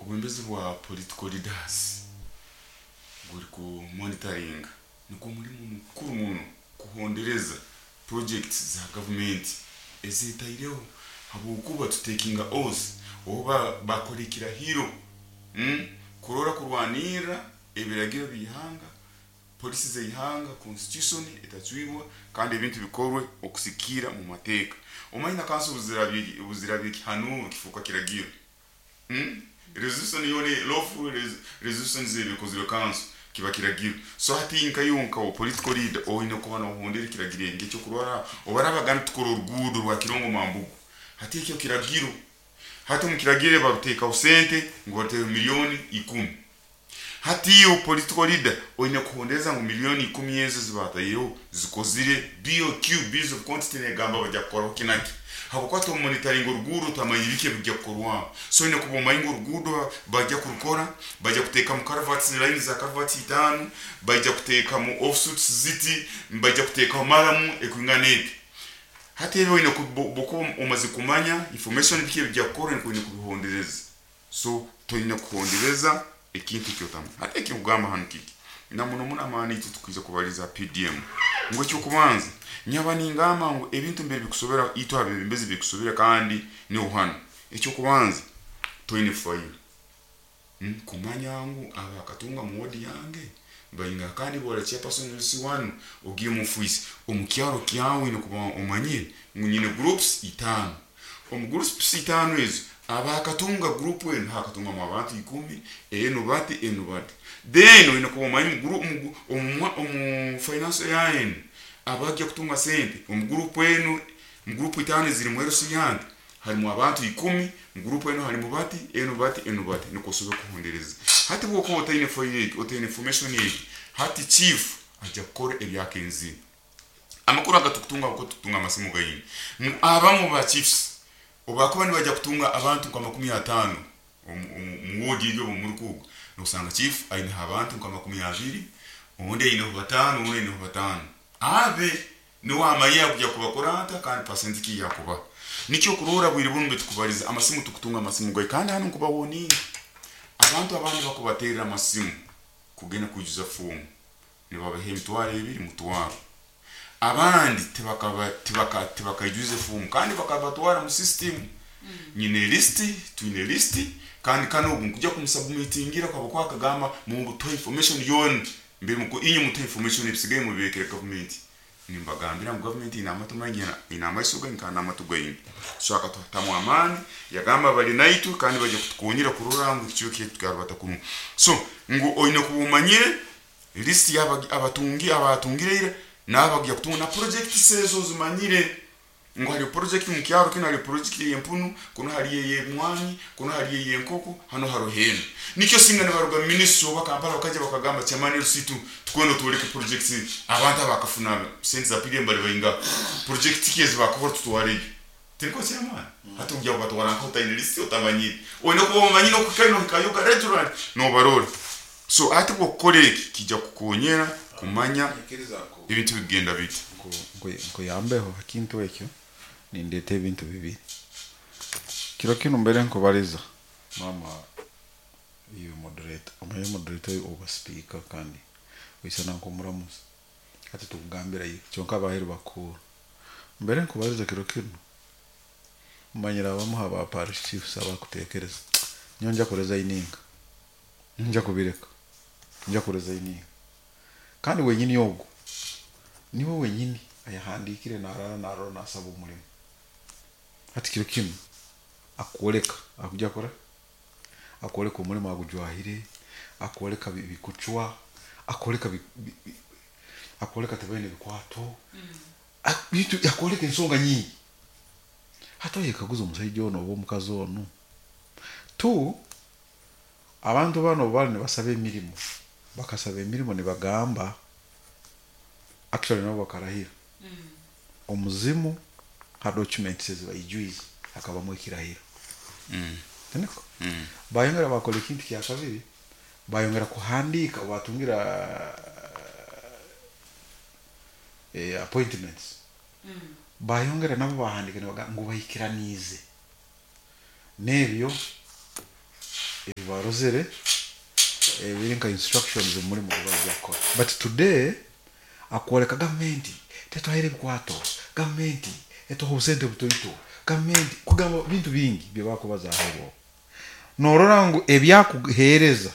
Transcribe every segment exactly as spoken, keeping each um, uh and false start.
Obwebembezi bwa political leaders buri ku monitoringa, nigwo mulimu mukuru muno kuhondereza projects za gavumenti ezetaireho, habwokuba tutekinga oath oba bakora ekirahiro mm? kurora kurwanirra ebiragiro by'ihanga, policy z'ihanga, constitution etacwibwa, kandi ebintu bikorwe okusikiira mu mateeka. Omanyi na kanso buzirabye buzirabye ekihanuuro kifuuka kiragiro mm? Resolution yoona, lawful resolutions ebikozirwe kanso kiba kiragiro. So hati nkayo nka political leader oine kuba nohondera ekiragiro eki. Ekyokurora, obaraba bagamba tukora oruguudo rwa Kirongo Mambugu, hati ekyo kiragiro. Hati omu kiragiro baruteekaho sente ngu baruteeho miliyoni ikumi. Hati iwe political leader oine kuhondereza ngu miliyoni ikumi ezo zibataireho zikozire B O Q, bills of quantity, negamba bajja kukoraho kinaki, habwokuba tomonitoringa oruguudo, otamanya biki ebijja kukorwaho. So oine kuba omanyi ngu oruguudo bajja kurukora, bajja kuteekamu culverts, line za culverts itaano, bajja kuteekamu offshoots ziti, bajja kuteekaho murram ekwingana eti. Hati ebi oine kuba omaze kumanya information biki ebijja kukora, oine kubihondereza. So toine kuhondereza ekintu ekyotamanya. Hati ekikugamba hanu kiki na muno muno amaani itwe tukwija kubaliza P D M ngu ekyokubanza nyaba ningamba ngu ebintu mbere bikusobera itwe abebembezi bikusobera, kandi niho hanu ekyokubanza toine fayiro hmm? kumanya ngu abakatunga mu wodi yange bainga. Kandi bora chairperson C one ogiye mu office omu kyaro kyawe, oine kuba omanyire ngu nyine groups itaano. Omu groups itaano ezo, abakatunga group enu hakatungamu abantu ikumi, enu bati, enu bati. Then oine kuba omanyi omu omu finance yaenu abajja kutunga sente omu group enu. Mu group itaano eziri mu L C yange harimu abantu ikumi, mu group enu harimu bati, enu bati, enu bati, nikwo osobole kuhondereza. Hati bwokuba otaine fayiro egi, otaine information egi, hati chief ajja kukora ebyakenzire. Amakuru aga tukutunga uko tukutunga amasimu gaini ngu abamu ba chiefs obakuba nibajja kutunga abantu nka makumi ataano mu wodi eri obu murukuga, nosanga chief aineho abantu nka makumi abiri, ondi aineho bataano, ondi aineho bataano. Abe niwe amanye akujya kubakora ata kandi pasenti ki yakubaha. Nikyo kurora bwire bunu betukubaliza amasimu, tukutunga amasimu gai. Kandi hanu nkubawoninga abantu abandi bakubaterera amasimu kugenda kwijuza fomu, nibabaha emitwaro ebiri, mutwaro. Abandi tibakaijuize fomu kandi bakabatwara mu system. Nyine lisiti, twine lisiti, kandi kano ogu nkujya kumusubmitingira habwokuba akagamba mutuhe information yoona mbere inywe mutuhe information, ebisigaye mubirekere gavumenti. Nimbagambira ngu gavumenti ine amatu maingi, ine amaiso gaingi kandi n'amatu gaingi. So akatuhatamu amaani, yagamba bali naitwe kandi bajja kutukonyera kurora ngu ekicweka kyaitu kyarubata kurungi. So ngu oine kuba omanyire lisiti y'abatungi, abatungire ira n'abagya kutunga, na projects ezo ozimanyire ngu hariyo project mu kyaro kinu, hariyo project ey'empunu kuno, hariyo ey'emwanyi kuno, hariyo ey'enkoko hano, hariho eno. Nikyo singa nibaruga mu ministry oba Kampala bakaija bakagamba, "Chairman L C two, tukwenda otwoleke projects, abantu abakafuna sente za P D M bali baingaha, project ki ezi bakakora, tutwareyo." Tiniko chairman? Hati ojja kubatwara nkaho otaine lisiti, otamanyire. Oine kuba omanyire okuhikayo, nohikayoga regularly nobarora. So hati bwokukora eki kijja kukukonyera kumanya ebintu bigenda biti. Nkuyambeho ha kintu ekyo, nindeeta ebintu bibiri kiro kinu. Mbere nkubaliza mama, iwe moderator, omanye moderator oba speaker kandi oisana nk'omuramuzi, hati tukugambira iwe kyonka abaheru bakuhurra. Mbere nkubaliza kiro kinu, manyire abamu ha ba parish chiefs abakutekereza nyo nja kuresigninga, nja kubireka, nja kuresigninga. Kandi wenyini ogu niwe wenyini ayahandikire narara narora nasaba omulimo. Hati kiro kinu akwoleka akujya kora, akwoleka omulimo agujwahire, akwoleka bikucwa, akwoleka akwoleka tibaine bikwato bintu, akwoleka ensonga nyingi. Hati oyekaguza omusaija ono oba omukazi onu tu. Abantu bano obu bali nibasaba emirimo, bakasaba emirimo nibagamba, actually nabo bakarahira omuzimu. Ha documents ezi baijwize hakabamu ekirahiro. Niko bayongera bakora ekintu kya kabiri, bayongera kuhandiika batungira eh, appointments, bayongera nabo bahandika nibagamba ngu baikiraniize n'ebyo. Ebi barozere ebiri nka instructions omu mulimu gubajja kukora. But today akwoleka gavumenti tetwaire ebikwato, gavumenti etuha obusente butoito, gavumenti kugamba bintu bingi byebakubazaho. Norora ngu ebyakuheereza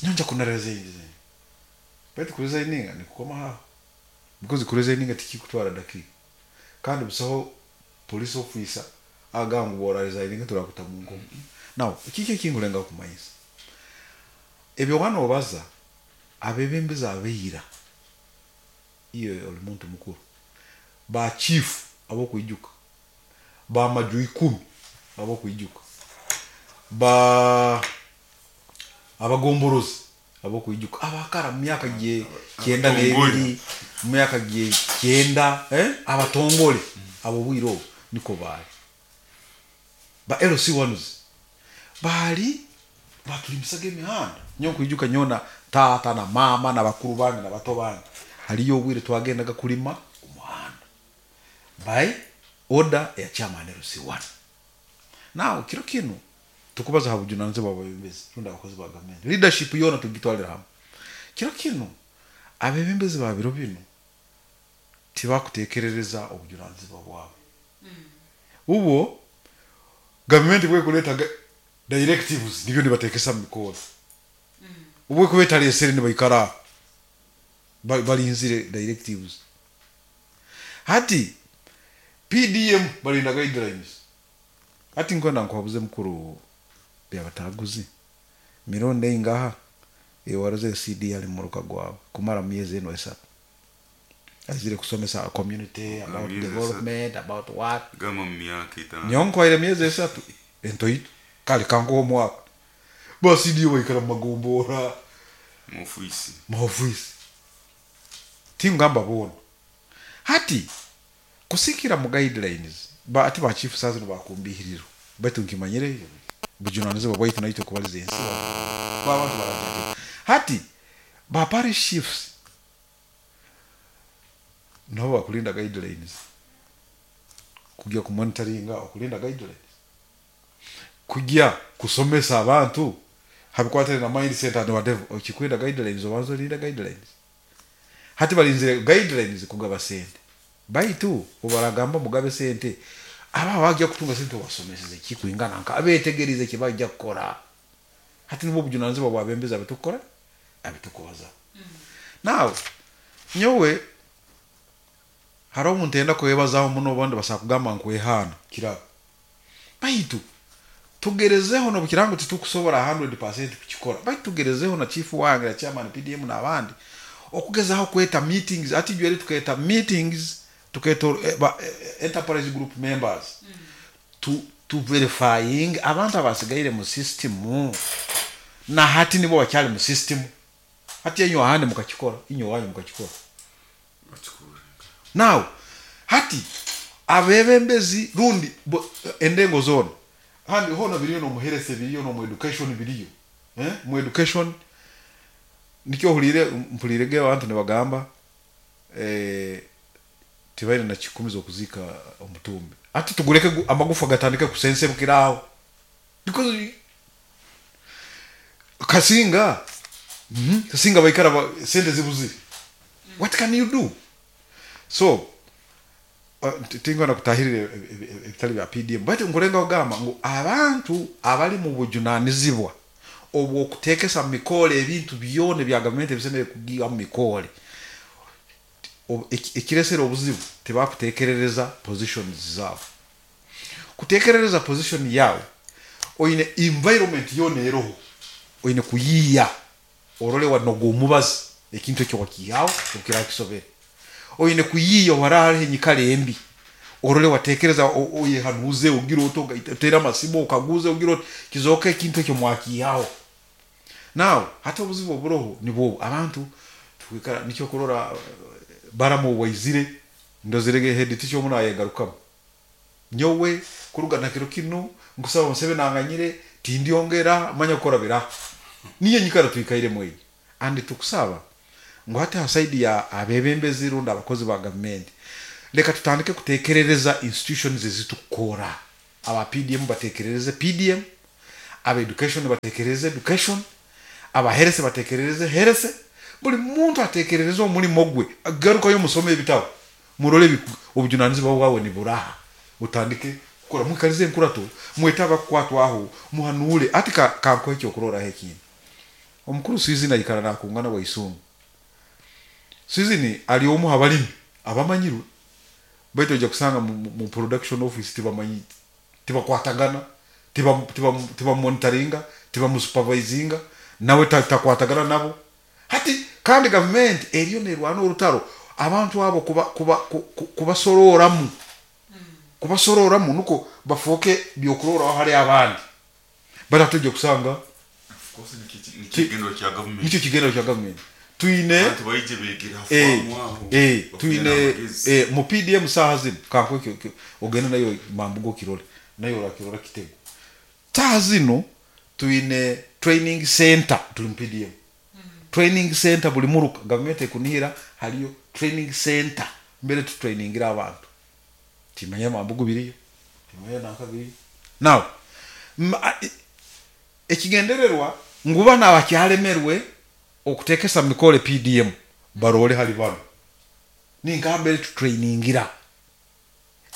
nyonja kunaresigninga, baitu kuresigninga nikukoma haho, because kuresigninga tikikutwara dakiika, kandi busaho police officer agamba ngu bworaresigninga turakuta mu nkomo. Now kiki ekinkulengaho kumanyisa ebyo? Wana obaza abebembezi abeira, iyo oli muntu mukuru, ba chief abokwijuka, bamaju ikumi abokwijuka, ba abagomborozi abokwijuka abakara mu myaka gye kyenda n'ebiri, mu myaka gye kyenda, eh? Abatongole abo bwire obu niko baali ba L C ones baali batulimisaga emihanda. Nyowe nkwijuka nyona taata na mama na bakuru bange na bato bange, haliyo obwire twagendaga kulima omuhanda by order ya chairman L C one. Now kiro kinu tukubaza ha bujunanizibwa bw'abebembezi rundi abakozi ba gavumenti, leadership yoona tugitwalira hamwe. Kiro kinu abebembezi ba biro binu tibakutekerereza obujunanizibwa bwabo. Ubwo gavumenti bwekuleta ga- directives nibyo nibatekesa mu mikoro, ubwo kuba etalesere nibaikara ba- balinzire directives. Hati P D M balinda guidelines. Hati nkwenda nkuhabuze mukuru byabataguzi mirundi eingaha ewaroze C D ali muruka gwawe kumara myezi eno esatu azire kusomesa community about Myezi development, about what? Gamba mu myaka etaano. Nyonkwaire myezi esatu entoito kale kankuha omwaka ba C D baikara mu magombora, mu ofiisi. Mu ofisi, tingamba boona. Hati kusikira mu guidelines ba ati ba chief sazino bakumbihiriro, baitu nkimanyire bujunanizibwa bwaitu naitwe kubaliza ensi babantu barajake. Hati ba parish chiefs nabo bakulinda guidelines, kujya kumonitoringa okulinda guidelines, kujya kusomesa abantu habikwatire na mindset and whatever. Okikwenda guidelines, obanza olinda guidelines. Hati balinzire guidelines kugaba sente, baitu obaragamba mugabe sente, aba bajja kutunga sente obasomeseze kikwingana nka abetegereze kibajja kukora. Hati nibwo obujunanizibwa bwabembezi abitukora abitukubaza. Now nyowe hariho omuntu enda kwebazaho muno, obundi basobola kugamba nkwehana kirabo, baitu tugerezeho nobukirango titukusobora kikumi kukikora, baitu tugerezeho na chief wange na chairman P D M n'abandi okugezaho kweta meetings. Ati jweri tuketa meetings, tuketa eh, ba, eh, enterprise group members tu, tu verifying abantu abasigaire mu system, na hati nibo bakyali mu system. Hati enyo ahandi mukakikora, inyo wanyu mukakikora. Bakikora. Now hati abebembezi rundi bo- endengo zona handi hona biriyo, nomuherese biriyo, nomu education biriyo, eh? Mu education nikyo ohulire mpulirege abantu nibagamba eh, tibaine na kikumi z'okuzika omutumbi. Ati tugureke gu- amagufa gatandike kusensebukiraho because kasinga mm -hmm. kasinga baikara ba, sente zibuzire. What can you do? So uh, tingona kutahirira ebitali bya P D M, baitu nkulenga kugamba ngu abantu abali mu bujunanizibwa obwokutekesa mu mikole ebintu byona ebya gavumenti ebisemere kugiwa mu mikole, Ob- eki- ekiresera obuzibu tebakutekerereza positions zaabo. Kutekerereza position yawe, oine environment yona eroho oine kuyiya orole wanoga omubazi ekintu ekyo wakihaho okira kisobere. Oine kuyiya wara hariho enyikara embi, orole watekereza o- oyehanuze ogira oti otere amasimu okaguze ogira oti kizoka ekintu ekyo mwakihaho. Now hati obuzibu oburoho nibwo abantu twikara nikyo kurora eh, baramu obwaizire ndozirege head teacher omu nayegarukamu, nyowe kuruga na kiro kinu nkusaba Museveni anganyire tindyongera manya kukora bira. Niyo nyikara twikairemu eyi, and tukusaba ngu hati ha side ya abebembezi rundi abakozi ba gavumenti, leka tutandike kutekerereza institutions ezitukora. Aba P D M batekerereze P D M, Aba education batekereze education, aba health batekereze health, buli muntu atekerereze omulimo gwe. Garukayo musome ebitabo, murole ebiku- obujunanizibwa bwawe niburaha, utandike kukora. Mwikalize enkurato, mwete abakukwatwaho, muhanure. Ati ka- kankuhe ekyokuroraho ekindi. Omukuru Swizini aikara nakungana Waisungu. Swizini ali omu abalimi abamanyirwe, baitu ojja kusanga mu, mu- mu production office tibamanyi, tibakwatagana, tibamonitoringa, tibamusupervisinga, nawe ta- takwatagana nabo. Hati kandi gavumenti eriyo nerwana orutaro abantu abo kuba kuba ku- ku- kubasororamu kubasororamu nuko bafuuke byokuroraho hali abandi baratujja kusanga. Of course, nikyo kigendero kya gavumenti. Nikyo kigendero kya gavumenti. Twine abantu baije begera eh, famu aho eh, bafune twine n'amagezi. eh, mu P D M saha zino, kankuhe ogende nayo mambugo kirole nayo orakirora kitego. Saha zino twine training center, tuli mu P D M training center. Buli muruka gavumenti ekunihira haliyo training center mbere tutrainingira abantu. Timanya mambugo biriyo, timanya nanka biriyo. Now m- a- i- ekigendererwa ngu bano abakyalemerwe okutekesa mikole P D M barole hali bano ninka mbere tutrainingira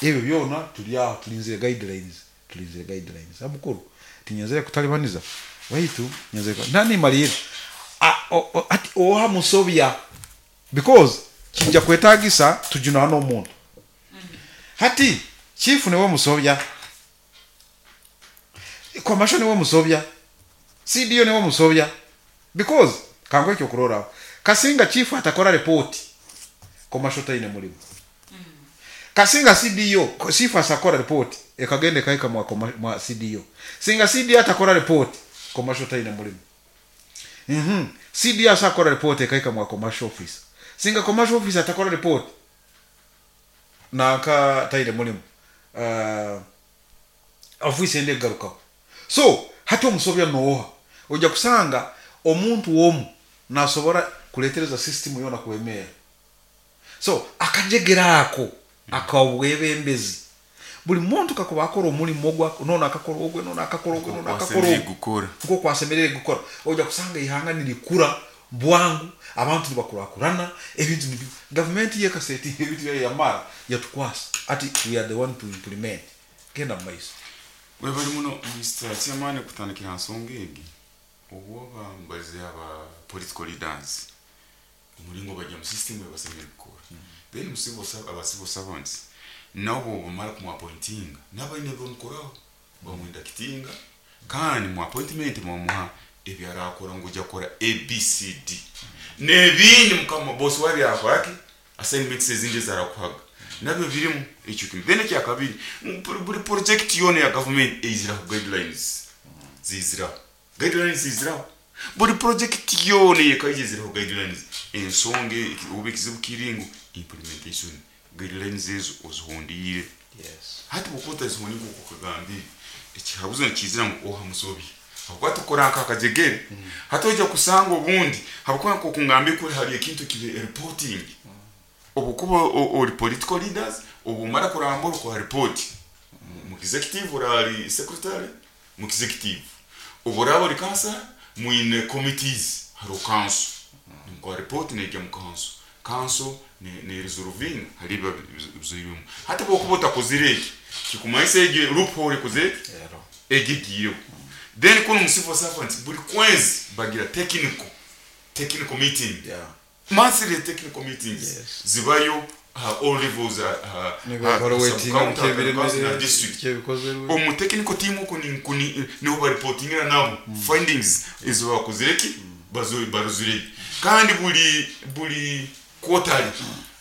ebyo byona. Tuli aho tulinzire guidelines, tulinzire guidelines. Amukuru tinyenzere kutalibaniza waitu, nyenzere nani malire ati oha musobya, because kijja kwetagisa tujunana omuntu. Hati chifu niwe musobya, commercial niwe musobya, C D O niwe musobya, because kangu ekyo kuroraho kasinga chifu atakora report, commercial taine mulimu. Kasinga C D O, chifu asakora report ekagenda ekaika mwa, koma- mwa C D O. Singa C D O atakora report, commercial taine mulimu. mm C D O asakora report ekaika mwa commercial office. Singa commercial office atakora report, nanka taine mulimu, uh, office ende egarukaho. So hati omusobya nooha? Ojja kusanga omuntu omu nasobora kuletereza system yona kwemera. So akajegera ako akabwebembezi, buli muntu kakuba akora omulimu ogwa nono akakora ogwe, nono akakora ogwe, nono akakora Kwasemerere ogwe gukora nko kwasemerere gukora, ojja kusanga ihanga nirikura bwangu, abantu nibakurakurana, ebintu nibi gavumenti yekaseti ebintu byayo yamara yatukwasa. Ati we are the one to implement. Genda mu maiso. Webali muno, Mister Chairman. Kutandikira ha nsonga egi, obwoba mbalize aba political leaders omulingo bajya mu system ebasemere kukora, then mu civil serv- aba civil servants nabo bamara kumuappointinga, nabaine bamukoraho bamuinductinga, kandi mu appointment bamuha ebyarakora ngu ojja kukora A B C D n'ebindi mukama boss wabyakoraki, assignments ezindi ezarakuhaga nabyo birimu ekyo kimwe. Then ekyakabiri, buli- buli project yona ya government eiziraho guidelines, ziziraho guidelines, ziziraho. Buli project yona yekaija eziraho guidelines. Ensonga eki- oba ekizibu kiri ngu implementation, guidelines ezo ozihondiire? Yes. Hati bwokuba otazihondiire nkoku okagambire, ekihabuzo nikizira ngu oha musobi, habwokuba tukora nk'akajegere. Hati ojja kusanga obundi habwokuba nkoku kuri hari ekintu kiri reporting. Obukuba o- ori political leaders, obumara kurambura okora report mu executive, orari secretary mu executive, oburaba ori councillor, mwine committees, hariho council, nimukora report nejya mu council, council ne, ne resolving hari ibiba bizoirwemu. Hati bwokuba otakozire eki, kikumanyisa egi loophole ekoze eki Ero. egigiyeho. Then kuno mu civil servants buli kwezi bagira technical technical meeting, Yeah. monthly technical meetings. Yes. Zibayo uh, all levels, uh, uh, uh, sub-county, uh, na district. Kyebikozerwe. Omu technical team uko ni kuni niho bareportingira nabo findings ezo bakozire ki, bazo baruzire. Kandi buli buli quarterly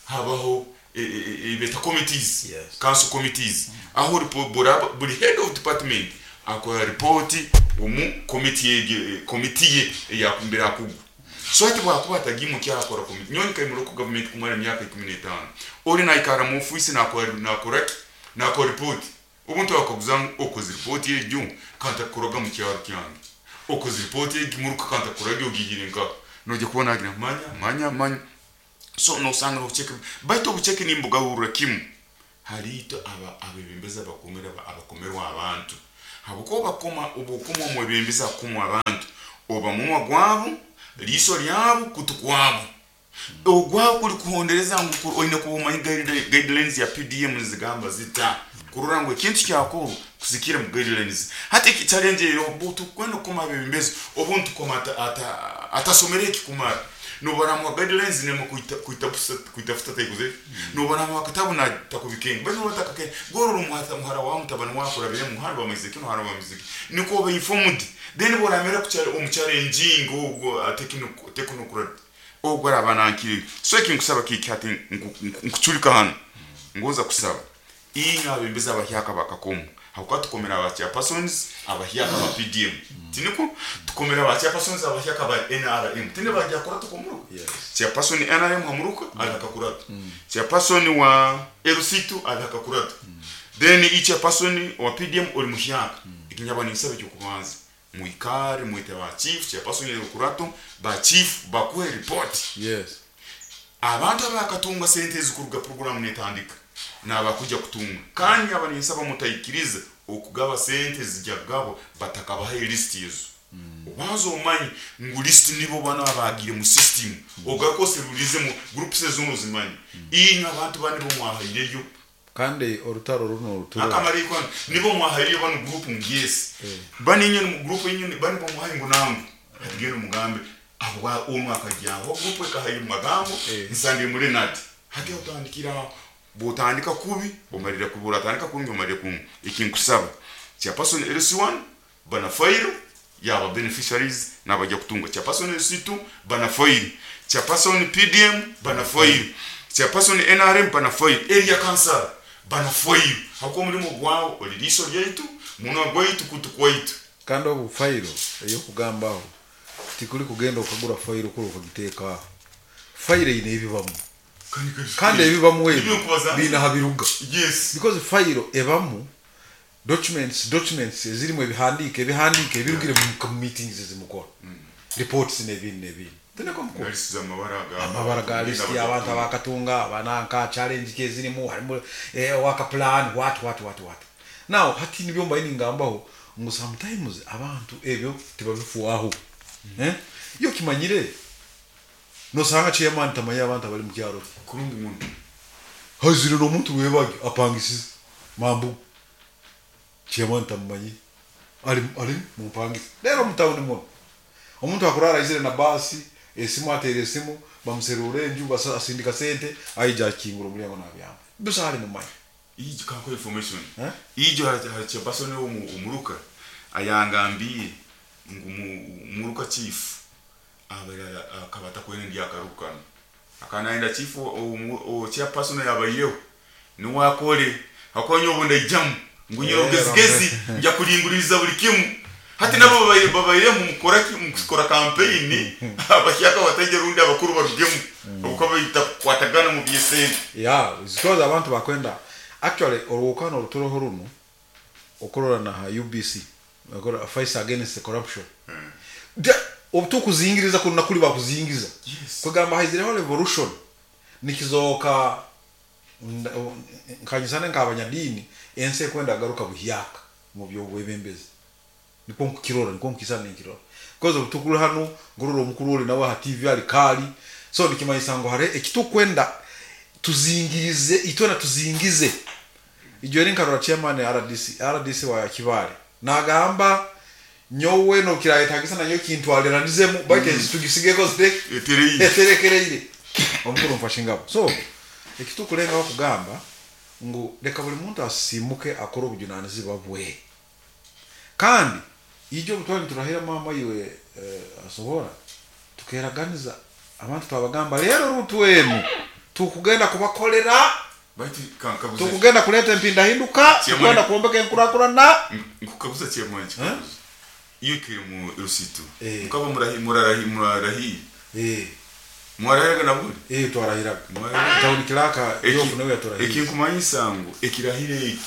habaho e- e- e- beta committees, Yes. council committees, aho report buraba buli head of department akora report omu committee ye, committee ye eyakumbira akugwa. So ati bwakuba atagimu kyakora committee, nyoni kaimuro ku government kumara emyaka ikumi n'etaano, ori naikara mu office nakora nakora ki, nakora report. Obuntu akaguza ngu okoze report egyo kantakuraga mu kyaro kyange, okoze report egi muruka kantakuraga ogihire nka nojya kubona agira manya manya manya. So nosanga obucheke, baitu obucheke nimbugahurra kimu haliito aba abebembezi abakomera abakomerwa abantu. Habwokuba bakoma obwokoma omwebembezi akukoma abantu oba munwa gwabo, liiso lyabo, kutu kwabo. Ogwabo kuli kuhondereza ngu oine kuba omanyi guidelines ya P D M nizigamba zita kurora ngu ekintu kyakorwa kusikira mu guidelines. Hati eki challenge ero tukwenda kukoma abebembezi obuntu koma atasomere ekikumara nobaramu guidelines nemo kuita kuitafuta taikuze nobaramu akatabu na takubikenga bano batakake gororo muhata muhara wa mutabani wakora bire muhara wa muziki no hara wa muziki niko be informed then boramera kuchale omuchallenging ogwo technocrat ogwo abanankiri. So ekinkusaba kiki hati nkuchulika hano ngoza kusaba inga abembeza abahyaka bakakomo hakuba tukomera aba chairpersons abahyaka ba P D M tiniko tukomera aba chairpersons abahyaka ba N R M tine bajya kora tukomuruka. Yes. Chairperson N R M hamuruka alakakurata. Chairperson wa L C two alakakurata. Then each chairperson wa P D M oli muhyaka ikinyaba ninsabe cyo kubanza muikare muite ba chief chairperson yokurato ba chief bakuhe report. Yes. Abantu abakatunga sente zikuruga program netandika nabakuja kutunga kandi abanisaba mutayikiriza okugaba sente zijagabo batakabaha list yezo. Mm. Obanza omanyi ngu list nibo bana abagire mu system. Mm. Ogakose rulize mu groups ezono zimanyi. Mm. Inga abantu bani bo mwahaireyo kandi orutaro runo ruturo akamariko nibo mwahaireyo bano group ngesi. Eh. Bani nyene mu group nyene bani bo mwahaye ngo nangu atigende mugambe abo omwe akajyaho group ekahaye magambo. Eh. Nsande muri nati hati utandikira butandika kubi omalira kubura tandika kungi omalira kungi. Ikinkusaba chairperson L C one bana file yaba beneficiaries nabajya kutunga, chairperson L C two bana file, chairperson P D M bana file, chairperson N R M bana file, area council bana file. Hako mulimo gwawo oliliso lyaitu muno gwaitu kutu kwaitu kandi obu file eyo kugambaho tikuli kugenda okagura file kuri okagiteka file ine ebibamu kandi ebibamu ebyo bina habiruga. Yes. Because file ebamu documents documents ezirimu ebihandike ebihandike ebirugire mu meetings ezimukora. Mm. Reports n'ebindi n'ebindi teneko mukuru list za mabara ga amabara ga list y'abantu abakatunga abananka challenge ke zirimu harimo eh, waka plan what what what what now hati nibyo mbaye ningambaho ngo sometimes abantu ebyo tibabifuaho. Mm. Eh iyo kimanyire nosanga chairman tamanya abantu abali mu kyaro kurungi muntu hazire no muntu webagi apangisize mambu chairman tamanyi ali ali mupangisi lero mutawuni muno omuntu akurara izire na basi esimu atere esimu bamuserure enju basa asindika sente aija akingura omulyango nabyamba bisa ali mumanyi iji kako information eh ijo ha chairperson wo umuruka ayangambiye ngu muruka chief abalala akabata kwene ndi akarukana akanaenda chief o chairperson yabayeho niwakole akonyo obunda ijamu ngunyero gezigezi nja kulinguriza buli kimu hati nabo babaye mu mukora ki mukora campaign abashyaka bategera undi abakuru barugemu uko bayita kwatagana mu byesente. Yeah, because abantu bakwenda actually orwokano rutoroho runo okorora na U B C bakora fight against the corruption. Mm. Obutukuzingiriza kuna kuli bakuzingiza. Yes. Kugamba haizireho revolution nikizoka nkanyisana nk'abanyadini ense kwenda garuka buhyaka mu byo bwebembezi niko nkirora niko nkisana nkirora because obutukuru hano ngororo omukuru oli nawe ha T V ali kali so nikimanyisa ngo hare ekitukwenda tuzingirize itona tuzingize ijo eri nkarora chairman R D C R D C wa Kibale nagamba nyowe no kirayetagisa nanyo kintu alirandizemu bake mm. tugisigeko etereire eterekereire omukuru mfashe ngabo so ekitukulenga kugamba ngu leka buli muntu asimuke akora obujunanizibwa bwe kandi ijo butwali turahira mama iwe eh, asohora tukeraganiza abantu twabagamba rero rutwenu tukugenda kubakolera bati kankabuze tukugenda kuleta empinda hinduka tukugenda kuombeka enkurakurana nkukabuza chairman iyo kiri mu rusitu Eh. mukaba murahi murarahi murarahi eh mwarahiraga nabuli eh twarahiraga Mwarahiraga. tawuni kilaka yofu nawe yaturahira ekinkumanyisa ngu ekirahiro ekyo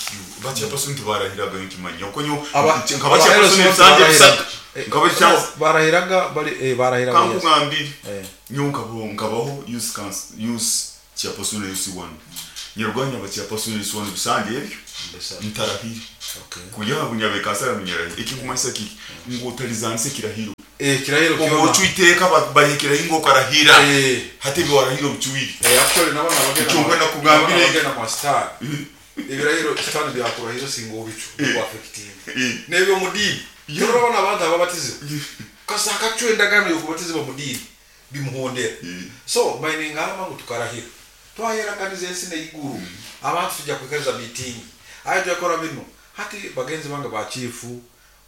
bachairperson tibarahiraga nkimanya uko nyo Aba- nkaba chairperson aba- ebisanja barahiraga. bisatu Eh, nkaba chairperson barahiraga bari eh barahiraga yes. kankugambire Eh. nyo nkabo nkabaho youth council youth chairperson na youth one Nyarwanya bachairperson iswana bisange ebyo ntarahire. Okay. Kuya bunyabekasara munyarahire ekinkumanyisa kiki ngu otalizanise kirahiro. Eh, kirahiro Obwo kyona. ocwiteeka bahikiraho ingo okarahira. Eh. Hati ebi warahira obucwire. Eh, actually nabona abagenda Icyo ngenda kugambira- abagenda kwa star. Ebirahiro sitani byakurahira singa obicu Eh. ku affecting. Eh. Nebyo mu dini. Urabona abantu ababatizibwa. Kasa akacwa endagaano y'okubatizibwa mu dini bimuhondera. So mainingamba ngu tukarahira. Twaheraganiza ensi n'eiguru. Abantu tujja kwikariza meeting. Aye tuyakora bino. Hati bagenzi bange ba chief,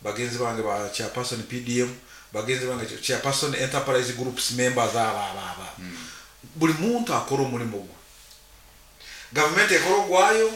bagenzi bange ba chairperson P D M, bagenzi bange chairperson enterprise groups members aba aba aba. Buli muntu akora omulimu gwe. Gavumenti ekora ogwayo,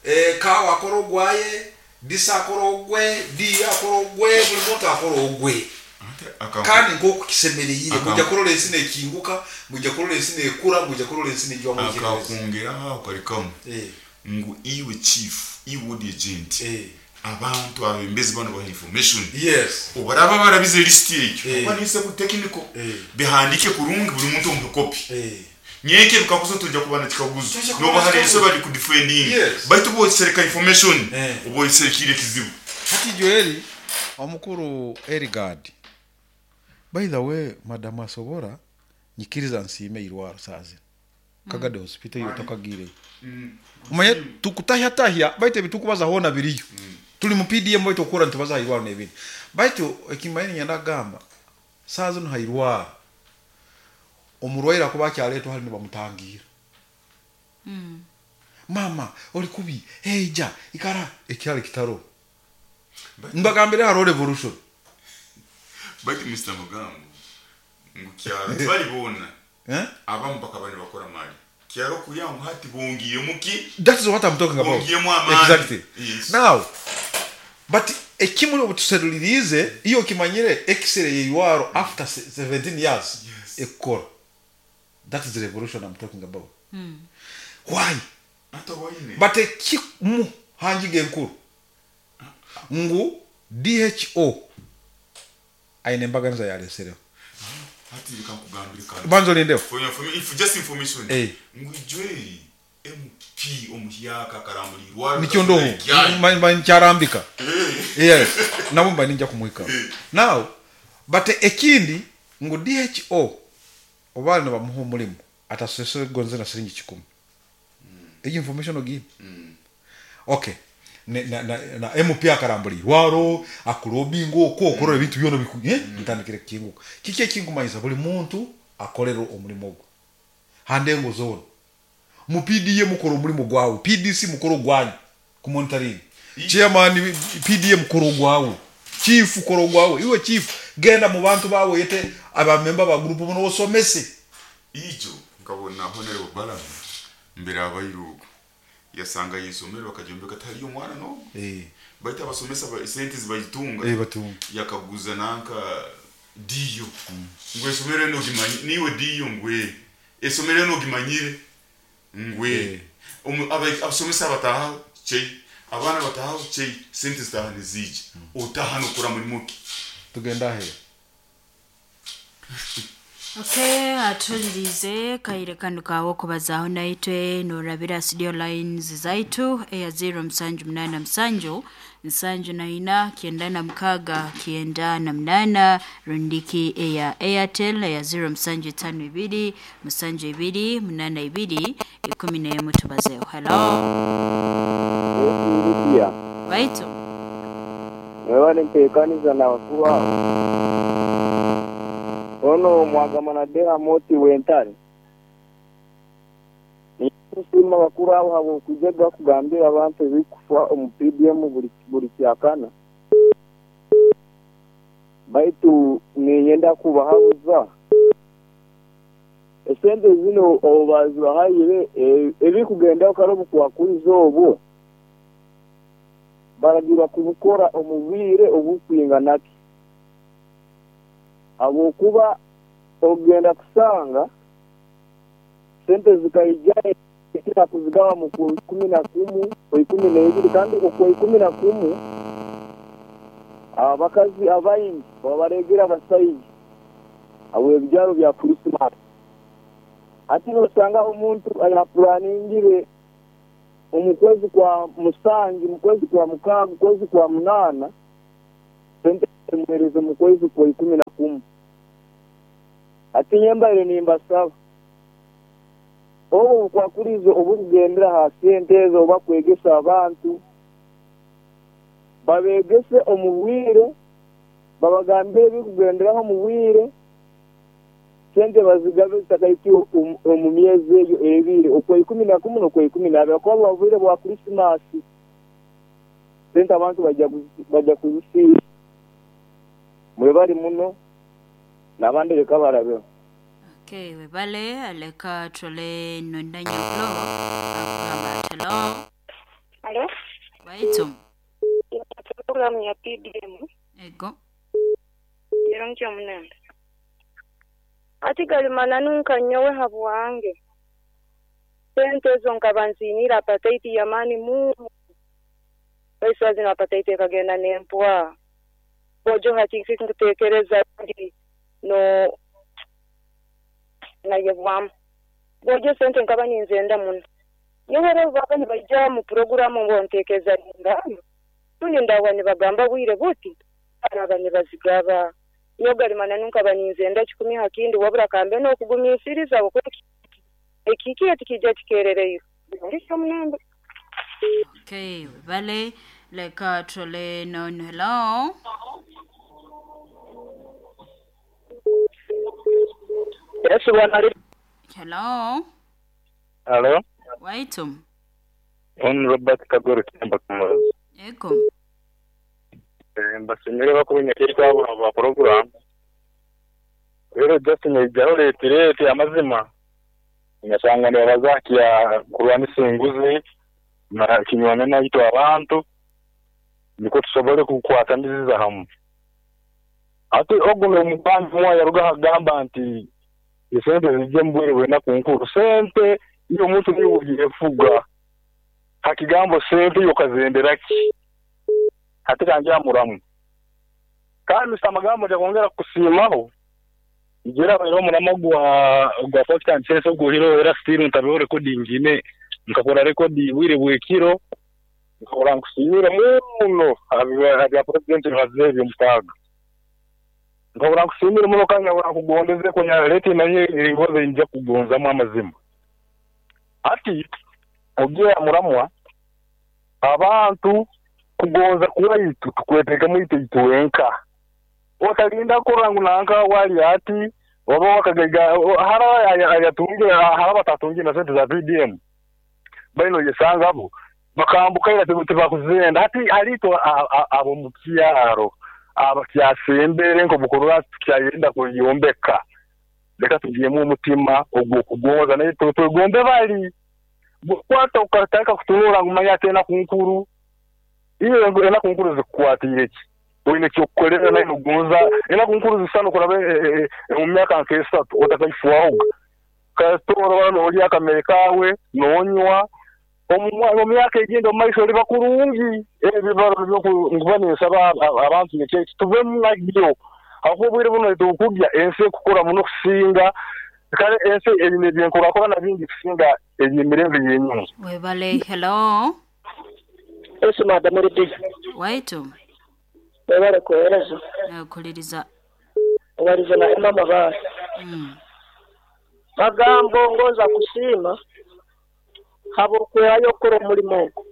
eh, kawa akora ogwaye, disa akora ogwe, di akora ogwe, buli muntu akora ogwe. Ate aka- Kandi nk'oku kisemereire Aka- mujja kurora ensi nekinguka, mujja kurora ensi nekura, mujja kurora ensi nejwamu ekirezi. Akakongeraho aho kari kamwe Eh, ngu iwe chief, iwe ward agent, eh. abantu abembezi bano baha information. Yes. Obaraba barabize lisiti ekyo Eh. oba nise ku technical Eh. bihandike kurungi, buli muntu omuhe kopi. Eh. Nyeke bikakuzo tujja kuba na kikaguzo. Tujja kuba Noba na hari kikaguzo. iso bari kudefending. Yes. Baitu bosereka information, Eh. oboyiserekire kizibu. Hati Joeli omukuru Erigard, by the way, madamu asobora nyikiriza nsiime irwaro saazi Kagade Hospital iyo tokagire umanye tukutahyatahya baitu ebitukubaza hoona biriyo tuli mu P D M, baitu okura nitubaza hairwaro n'ebindi, baitu ekimanyi nyenda kugamba saa zino hairwaro omurwaire akuba akyaletwa hali nibamutangira, "Mama oli kubi, heija ikara," ekyali kitaro. Mbagambire hariho revolution. Baitu Mister Mugambo ngu kyaro tibalibona. Eh? Abamu bakaba nibakora mali kyaro kuya ngu hati bongiyemu ki? That is what I'm talking about. Bongiyemu amaani. Exactly. Yes. Now, but ekimuli obutuserulirize iyo okimanyire x-ray yeirwaro after se- seventeen years Yes. ekukora. That is the revolution I'm talking about. Why? Ata waine. But ekimu hanjiga enkuru ngu D H O aine embaganiza yalesereho. Hati reka nkugambire kandi. Banza olindeho. For your informa- if just information, Eh. ngu ijweri M P omuhyaka akarambulirwa. Nikyo ndoho Ma- ma- nkyarambika, yes, nabo mba ninja kumuhika now. But ekindi ngu D H O oba nibamuha omulimu atasesere gonze na siringi kikumi. Eyo information ogiine? Okay. Ne- na, na, na M P akarambura irwaro akulobinga okwo okorora ebintu byona biku eh? Bitandikire kukinguka. Kiki ekinkumanyisa buli muntu akorera omulimu ogwo handengo zona mu P D M mukora omulimu gwawe, P D C mukora ogwanyu ku monitoring, chairman P D M mukora ogwawe, chief kora ogwawe, iwe chief genda mu bantu bawe yete abamemba ba group muno osomese. Ijo nkabona Honorable Balaam mbere abayirugo yasanga yisomero bakajombeka tariyo omwana no eh baita abasomesa ba sente zibayitunga. Eh, batunga. Yakaguza nanka diyo ngwe esomero eno gimanyi niwe diyo ngwe esomero eno gimanyire ngwe. Eh. Omu- aba- abasomesa bataha chei, abaana bataha chei, sente zitaha nizija otaha nokora mulimu ki? Tugenda he? Okay, atulirize kaire kanu kawo okubazaaho naitwe norabira studio lines zaitu eya zero musanju munana musanju nsanju na ina kyenda na mukaaga kyenda na munana, rundiki eya Airtel eya zero musanju itano ibiri musanju ibiri munana ibiri ikumi n'emu. Tubazeho. Hello. Lydia, Baitu. mwebale nteekaniza n'abakuru abo. Ono mwagamana Dera Moti wentare. Nikusiima abakuru abo habw'okujega kugambira abantu ebikufa omu P D M buli buli kyakana. Baitu ninyenda kubahabuza. Esente zino obu bazibahayire e- ebikugendaho kare obukwakuriza obwo baragirwa kubukora omu bwire obukwinganaki, habwokuba ogenda kusanga sente zikaija kira kuzigawa mu ku ikumi na kumu o ikumi n'ebiri, kandi okwo ikumi na kumu abakazi abaingi babaregera abasaija abo ebibyaro bya Christmas. Ati nosanga omuntu ayaplaningire. Omu kwezi kwa musanju, mu kwezi kwa mukaaga, mu kwezi kwa munaana, sente zimuhereze mu kwezi kwa ikumi na kumu. Ati nyembaire nimbasaba obu bukwakurizo obukugendera ha sente ezo oba kwegesa abantu babegese omu bwire, babagambire ebikugenderaho omu bwire, sente bazigabe zitakahikiwe omu myezi eyo ebiri, okwa ikumi na kumu n'okwa ikumi n'abiri, kuba buba bwire bwa Krisimasi, sente abantu bajja bajja kuzisiisa. Mwebali muno n'abandi leka barabeho. Okay, webale aleka tole nonda nyakulo akugamba hello. Alo, Waitu. programu ya P D M. Ego. Yero munene. Ati galimana nunka nyowe habwange. Sente ezo nkaba nzinira appetite ya mani mu. Baisa zina appetite kagenda nempwa. Bojo hati nkutekereza ndi no na yebwam. Bojo sente nkaba ninzenda muno. Nyowe rero baba nibaija mu programu ngo ntekeza ngano. Tuni ndawa nibagamba bwire buti araba nibazigaba. Nyogalimana nunka baninzenda kikumi hakindi wabura kambe no kugumisiriza okwe ekiki etikijja kikerereyo. Ndisho munambe. Okay, webale leka tole non hello. Yes, bwana. Hello. Hello. Waitu. On Robert Kagoro Kimba Kamazi. Ego. Mbasimire bakubinyakirwa abo ba program. Rero just nyijyaho leta leta amazima. Nyasanga ne bazakiya kurwanisa enguzi na kinywana naito abantu niko tusobole kukwataniza hamwe. Ati oguno omubantu mwa yaruga hagamba nti esente zijje mbwere wena kunkuru sente iyo muntu niwe fuga hakigambo sente yo kazenderaki hati kanje amuramu kandi samagambo ja kusimaho igera bero muramo gwa gwa Fox and Chess guhiro era still ntabeho recording ine nkakora record bwire bwekiro nkakora nkusimira muno abya president bazebyo mutaga nkakora nkusimira muno kandi nkakora kugondeze ko leta naye ingoze nje kugonzamo amazima ati ogiye muramwa abantu kugonza kuwaitu tukweteka mwite ituwenka wakalinda kurangu nanka wali ati waba wakagega hara ayatunge hara batatunge na sente za P D M baino yesanga abo bakambuka ira tebakuzenda ati alito abo mukyaro abakyasembere nko bukorora tukyayenda kuyombeka leka tugiyemu umutima ogwo kugonza naye twegombe bali kwata ukataka kutunura ngumanya tena kunkuru iyo ngo ena kunkuru zikukwatire ki oyine kyokukolera naye nogonza ena kunkuru zisano kurabe mu myaka nk'esatu otakayifuwaho katora bano oli akamere kawe nonywa omu myaka egenda omu maiso oli bakurungi ebibaro byokuba ninsaba abantu nekyo tuvemu nabyo aho bwire buno tukujja ensi kukura muno kusinga kale ensi ebine byenkurakora na bingi kusinga ebimirembe yenyuma. Webale hello. Esi madam Rudi. Waitu. Webale kuhereza. Nakuliriza. Waliza na Emma Mabasi. Mm. Magambo ngoza kusima habo kwehayo kora omulimo ogwo.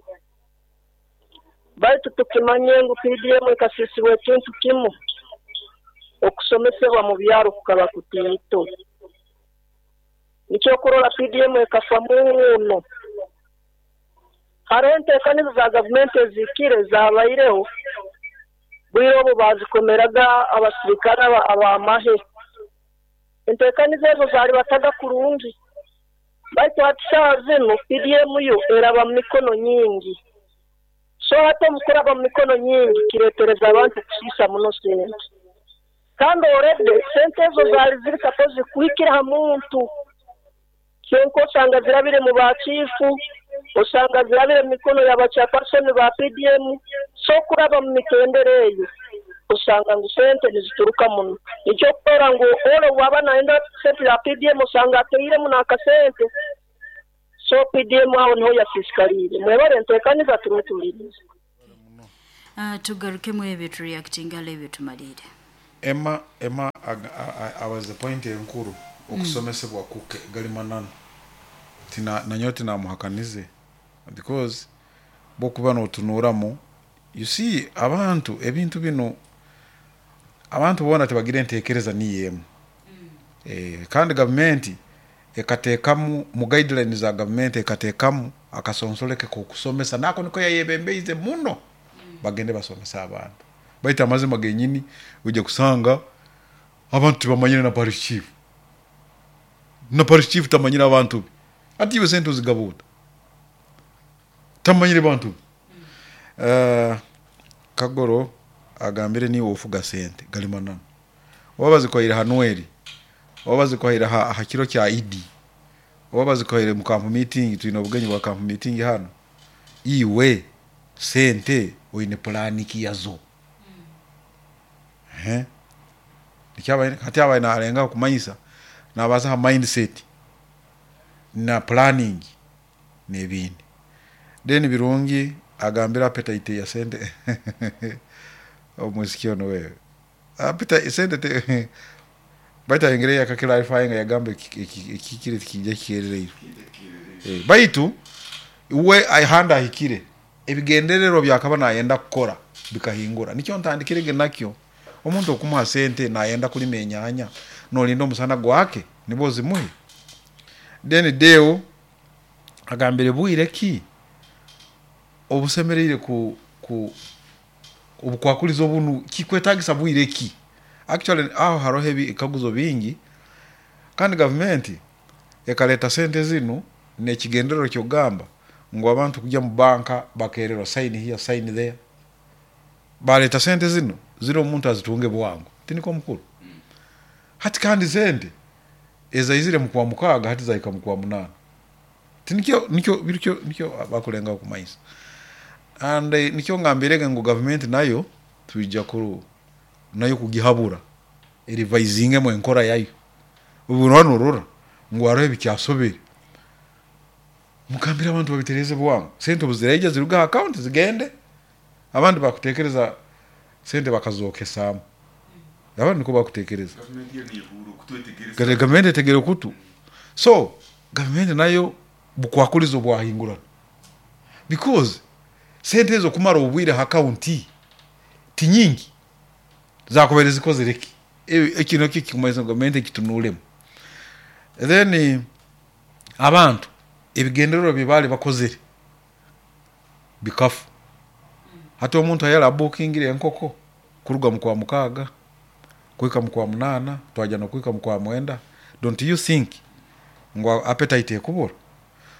Baitu tukimanye ngu P D M ekasisiwe ekintu kimu okusomesebwa mu byaro kukaba kutiito. Nikyo kurora P D M ekafa muno. Hariho enteekanizo za gavumenti ezikire zabaireho bwire obu bazikomeraga abasirikare abamahe. Enteekanizo ezo zaali bataga kurungi. Baitu hati saaha zinu P D M yo eraba mu mikono nyingi. So hati omukuraba mu mikono nyingi kireetereza abantu kusiisa muno sente. Kandi already sente ezo zaali ziri supposed kuhikira ha muntu. Kyonka osanga zirabire mu bachifu, osanga zirabire mu mikono y'abachairperson ba P D M, so kuraba mu mitendere eyo osanga ngu sente nizituruka muno. Nikyo kukora ngu ole waba naenda sente ya P D M osanga ateiremu n'akasente. So P D M aho niho yasisikariire. Mwebale nteekaniza tumutulirize. Uh, tugarukemu ebyo tureactinga ebyo tumalire. Emma Emma abaze point enkuru okusomesebwa kuke gali manano tina nanyo tina muhakanize because bokuba notunuramu you see abantu ebintu bino abantu bona tebagire entekereza niyemu mm. Eh, kandi government ekatekamu mu guidelines za government ekatekamu akasonsoleke kokusomesa nako niko yayebembeize muno mm. Bagende basomesa abantu baita amazima genyini uje kusanga abantu tibamanyire na parish chief na parish chief tamanyira abantu ati iwe sente uzigabuta tamanyire bantu mm. uh, Kagoro agambire ni ofuga sente galimanana wabazi kwaira Hanueli wabazi kwaira ha, ha kiro kya I D wabazi kwaira mu camp meeting tuina obugenyi bwa camp meeting hano iwe sente oine plan ki yazo mm. Eh nikyaba hati abaina alenga kumanyisa nabaza ha mindset na planning nebindi then Birungi agambira appetite ya sente omuziki ono wewe appetite sente te baita engere ya kaklarifying yagambe ekikire kijja kikerere eh baitu we ayihanda ahikire ebigenderero byakaba nayenda kukora bikahingura nikyo ntandikirege nakyo omuntu okumuha sente nayenda kulima enyanya nolinda omusana gwake nibo zimuhe then deo agambire bwire ki obusemereire ku ku obukwakulizo bunu kikwetagisa bwire ki actually aho haroho ebikaguzo bingi kandi government ekaleta sente zino nekigenderero kyogamba ngo abantu kujya mu banka bakererwa sign here sign there baleta sente zino zino omuntu azitunge bwangu tiniko mukuru mm. Hati kandi sente ezaizire mu kwa mukaga hati zaika mu kwa munana tinikyo nikyo birikyo nikyo bakulenga kumayisa and eh, nikyo ngambirege ngo government nayo tuija kuru nayo kugihabura erivisinge mu enkora yayo ubu rura ngo arebe bikyasobere mukambira abantu babitereze bwangu sente buzireje ziruga account zigende abandi bakutekereza sente bakazokesamo abandi niko bakutekereza government etegere kutu so government nayo bukwakulizo bwahingura because sente ezo kumara obwire account tinyingi zakubereza ikozereki ekino kikumaiza government kitunulemu then abantu ebigenderero bibali bakozere bikafu hati omuntu ayala bookingire enkoko kuruga mu kwa mukaga kuika mu kwa munana twaja no kuika mu kwa mwenda don't you think ngo appetite ekubura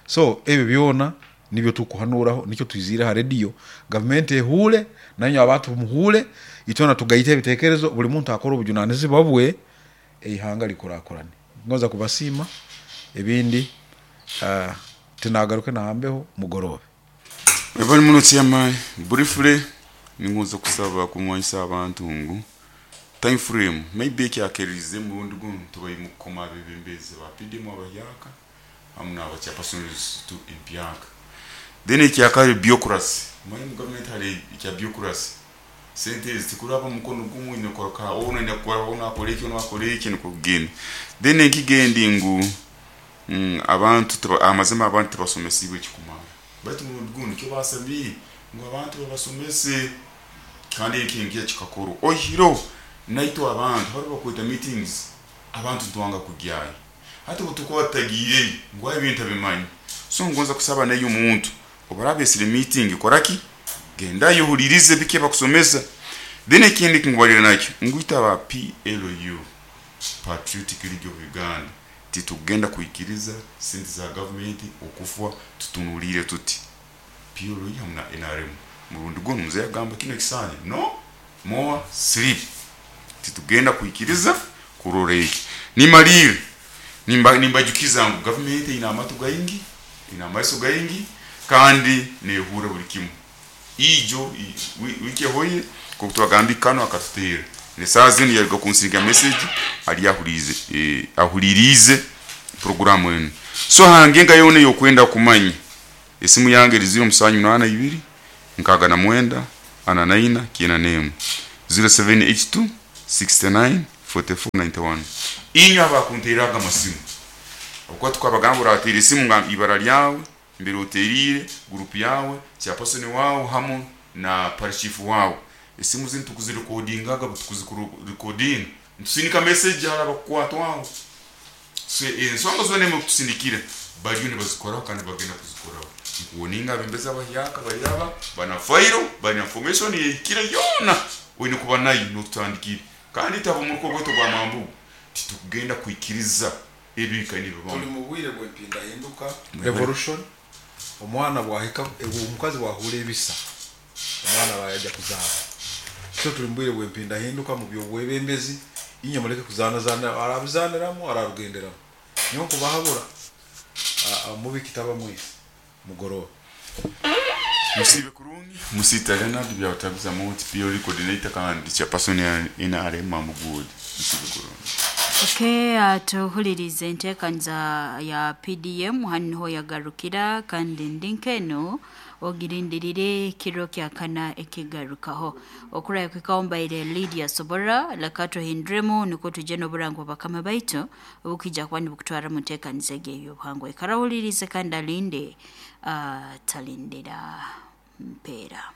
so ebyo byona nibyo tukuhanuraho nicyo twizira ha radio government ehule nanyo abantu muhule itona tugaite ebitekerezo buli muntu akora obujunanizi babwe eihanga likurakurane ngoza kubasima ebindi uh, tinagaruke nahambeho mugorobe Ebali muno chairman briefly ningoza kusaba kumwanyisa abantu ngu time frame maybe kyakerize murundi guno tubayi mukoma bebembeze ba P D M abayaka amuna abachapersons to impyaka then ekyakali bureaucracy mayi mu government hari ekya bureaucracy sente zikuraba mukono gumu inokoroka ono inakora ono akoleki ono akoleki nikugenda then ekigendi ngu mm, abantu amazima abantu tebasomesibwe kikumara baitu murundi guno kyo basabi ngo abantu babasomese kandi ekintu kikakoro ohiro naito abantu bari bakwita meetings abantu twanga kugyayo hati butuko batagire ngo ebintu bimanyi so ngonza kusaba nayo umuntu obarabesire meeting koraki genda yohulirize bike bakusomesa then ekindi kingwalira nakyo ngwita ba P L U Patriotic League of Uganda titugenda kuikiriza sente za government okufwa tutunulire tuti P L U hamna N R M murundi gono mzee agamba kino kisanye no more sleep titugenda kuikiriza kuroreki nimalire nimba nimbajukiza ngu government ina amatu gaingi ina amaiso gaingi kandi nehura buli kimu ijo wiki hoye kokutwagambi kano akatutera ne saa zino yaruga kunsinga message ali ahulize eh, ahulirize Programu enu so hange nka yona yokwenda kumanya, esimu yange eri ziro musanju munana ibiri nkaga na mwenda ana naina kiena nemu zero seven eight two sixty-nine forty-four ninety-one. Inywe abakunteeraga amasimu, okuba tukabagamba orateera esimu nga ibara lyawe, mbere oteriire, gurupu yawe, chairperson wawe hamu na parish chief wawe. Esimu zinu tukuzirekodingaga, butukuzirikodinga ntusindika message hali abakukwatwaho. So ensonga zona emwe kutusindikira bariyo nibazikoraho kandi bagenda kuzikoraho. Nkuwoninga abembezi abahyaka bairaba bana fairo, bana information yehikire yona oine kuba nayo notutandikire. Kandi itaba omuruko gwaitu gwa Mambugu titukugenda kwikiriza ebika Tuli nibibamu. Mu bwire bw'empindahinduka, revolution. Omwana bwahika, omukazi bwahura ebisa, omwana bayajja kuzaara. So tuli mu bwire bw'empindahinduka mu byobwebembezi. Inywe muleke kuzanazana, arabizaniramu, ararugenderamu. Nyowe nkubahabura, mubikitaba mwisi mugoroba. Musibe kurungi, musita Leonard Byabatabiza Moti, P L coordinator kandi chairperson ya N R M Mambugu. Musibe kurungi. Okay, atuhulirize enteekaniza ya P D M hanu niho yagarukira, kandi ndi nkeno ogirindirire kiro kyakana ekigarukaho okuraya kwikaho. Mbaire Lydia Sobora. Leka tuhinduremu nikwo tujye n'oburango bakama baitu obukija kuba nibukutwara mu nteekaniza egi ey'obuhangwa. Ikara ohulirize kandi alinde, uh, talindira mpeera.